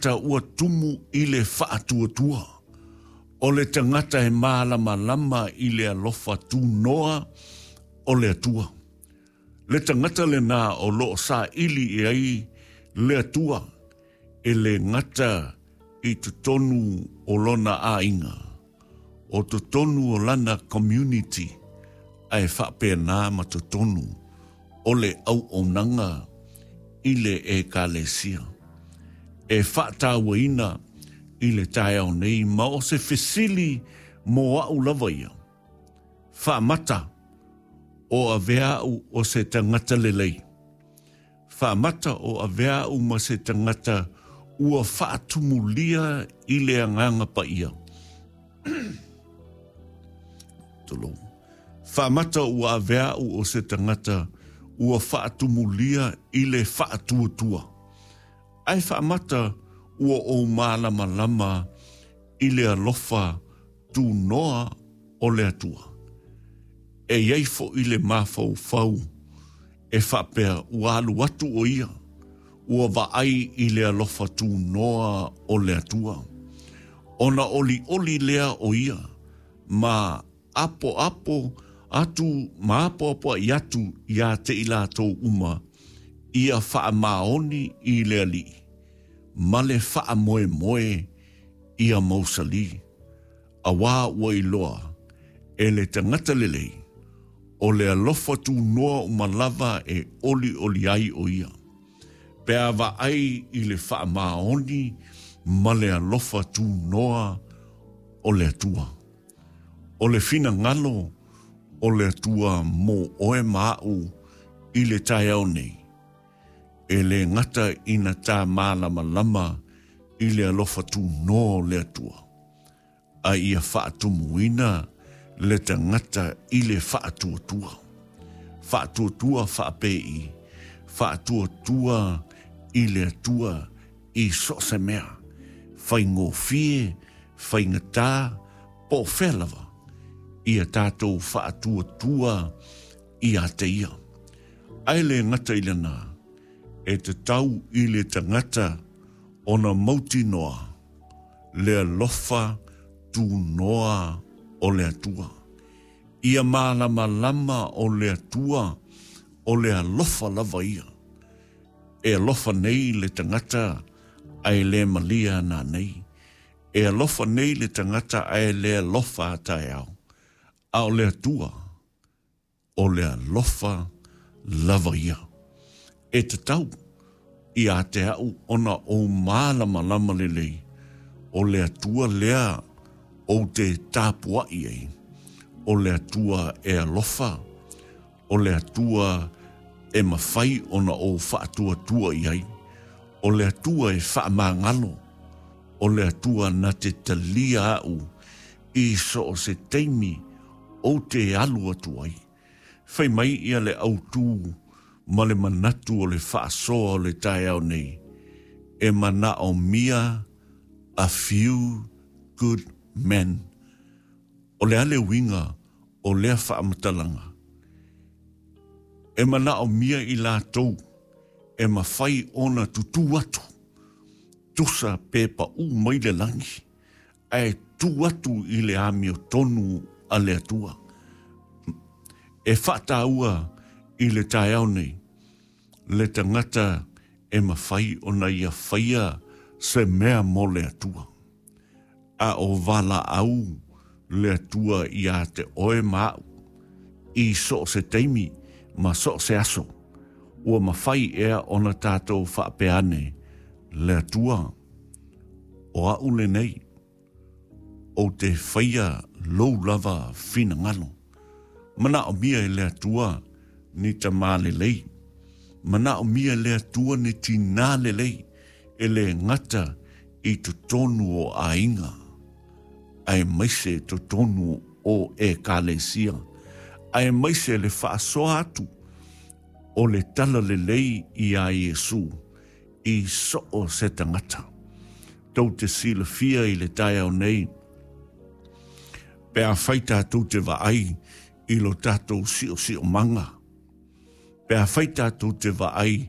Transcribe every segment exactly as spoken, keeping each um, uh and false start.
Ua tumu i le faatuatua. O le tagata e malamalama i le alofa tunoa o le Atua. Le tagata lena o loo saili i ai le Atua e le gata i totonu o lona aiga, o totonu o lana community, ae faapena ma totonu o le auaunaga i le ekalesia. E faatauaina i le taeao nei ma o se fesili mo a'u lava ia. Faamata o avea a'u o se tagata lelei. Faamata o avea a'u ma se tagata ua faatumulia i le agaga paia. Tulou. Faamata ua avea a'u o se tagata ua faatumulia i le faatuatua. Ae faamata ua ou malamalama i le alofa tunoa o le Atua. E iai fo'i le mafaufau e faapea ua alu atu o ia, ua vaai i le alofa tunoa o le Atua. Ona olioli lea o ia, ma apoapo atu, ma apoapoai atu ia te i latou uma, ia faamaoni i le Alii, ma le faamoemoe ia mausali. Auā ua iloa e le tagata lelei, o le alofa tunoa uma lava e olioli ai o ia. Pe a vaai i le faamaoni ma le alofa tunoa o le Atua. O le finagalo o le Atua mo oe ma a'u i le taeao nei. E le gata ina ta malamalama i le alofa tunoa o le Atua. A ia faatumuina le tagata i le faatuatua. Faatuatua faapei, faatuatua i le Atua i so o se mea. Faigofie, faigata, po o fea lava, ia tatou faatuatua ia te ia. Ae le gata i lena, e tatau i le tagata ona mautinoa le alofa tunoa o le Atua. Ia malamalama o le Atua o le alofa lava ia. E alofa nei le tagata ae le malia nanei. E alofa nei le tagata ae le alofa taeao. A o le Atua o le alofa lava ia. E tatau ia te a'u ona ou malamalama lelei o le Atua lea ou te tapua'i ai. O le Atua e alofa, o le Atua e mafai ona ou faatuatua i ai, o le Atua e faamagalo, o le Atua na te talia a'u i so o se taimi ou te alu atu ai. Fai mai ia le autū ma le manatu o le faasoa o le taeao nei. E manaomia a few good men. O le a le uiga o lea faamatalaga. E manaomia i latou e mafai ona tutū atu. Tusa pe paū mai le lagi, ae tu atu i le amiotonu a le Atua. E faataua i le taeao nei, le tagata e mafai ona ia faia se mea mo le Atua. A o valaau le Atua ia te oe ma a'u i so o se taimi ma so o se aso. Ua mafai ea ona tatou faapea ane, le Atua, o a'u lenei, ou te faia lou lava finagalo. Manaomia e le Atua ni tamā lelei. Manaomia e le Atua ni tinā lelei e le gata i totonu o aiga, aemaise totonu o ekalesia, aemaise le faasoa atu o le tala lelei ia Iesu i so o se tagata. Tou te silafia i le taeao nei, pe afai tatou te vaai i lo tatou siosiomaga, pe afai tatou te vaai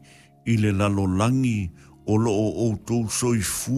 i le lalolagi o loo outou soifua.